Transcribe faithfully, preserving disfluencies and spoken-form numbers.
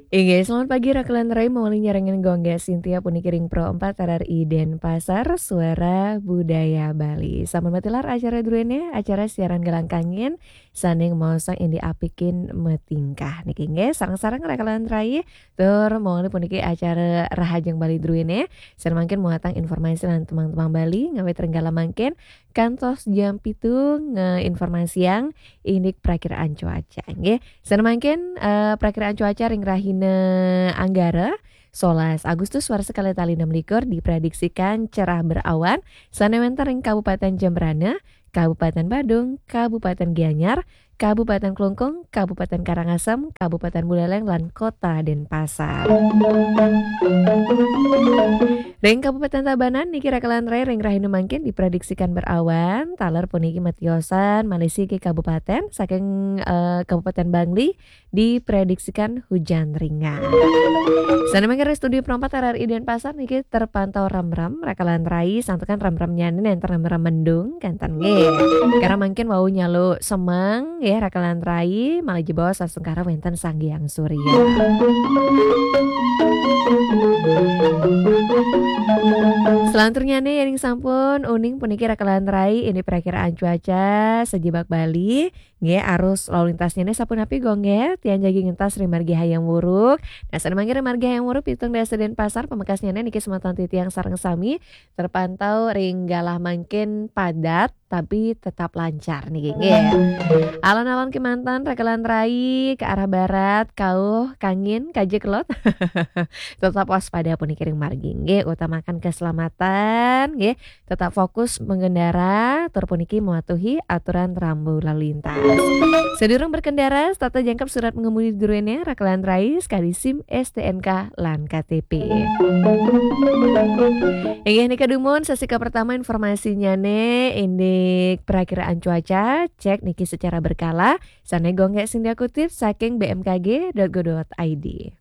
Inggih, selamat pagi, Rakelan Rai, mawali nyarengin Gung Gé Sintia puniki ring Pro empat R R I Denpasar, Suara Budaya Bali. Sampun matilar acara druéné, acara siaran Galang Kangin, sané maosang indik apikin matingkah niki nggih, sareng-sareng Rakelan Rai, tur mawali puniki acara Rahajeng Bali druéné, sané mangkin muatang informasi lan tembang-tembang Bali, ngawit ring galah mangkin, kantos jam pitu ngéinformasiang indik prakiraan cuaca nggih. Sané mangkin, eh, prakiraan cuaca ring rahina Anggara, solas Agustus warsa kalih tali enam likur diprediksikan cerah berawan, sané wénten ring Kabupaten Jembrana, Kabupaten Badung, Kabupaten Gianyar, Kabupaten Klungkung, Kabupaten Karangasem, Kabupaten Buleleng, lan Kota Denpasar. Ring Kabupaten Tabanan niki Rakelan Rai ring rahina mangkin diprediksikan berawan, taler puniki matiosan malih siki kabupaten saking, eh, Kabupaten Bangli diprediksikan hujan ringan. Sané mangkin ring studio Pro empat R R I Denpasar niki terpantau remrem, Rakelan Rai, santukan remremnyané nénten remrem mendung, kénten nggih. Karena mangkin wau nyalu semeng nggih, Rakelan Rai, malih jebos sasengkara wénten Sang Hyang Surya. Selanturnyané yéning sampun uning puniki Rakelan Rai indik prakiraan cuaca sajebag Bali. Nggih, arus lalu lintasnyané sapunapi Gung Gé? Tiang jagi ngentas ring margi Hayam Wuruk. Nah, sané mangkin ring margi Hayam Wuruk pitung dasa Denpasar, pamekasnyané niki semeton titiang sareng sami terpantau ring galah mangkin padat tapi tetap lancar niki nggih. Alon-alon kémanten Rakelan Rai ke arah barat, kauh, kangin, kaja kelod. Tetap waspada puniki ring margi nggih, utamakan keselamatan nggih. Tetap fokus mengendara, tur puniki mematuhi aturan rambu lalu lintas. Sadurung berkendara, setata jangkep surat pengemudi druéné, Rakelan Rai, sakadi SIM, STNK, lan KTP. Inggih nika dumun sesi kapertama informasinyané indik perakiraan cuaca, cek niki secara berkala, sané Gung Gé Sintia kutip saking B M K G dot go dot I D.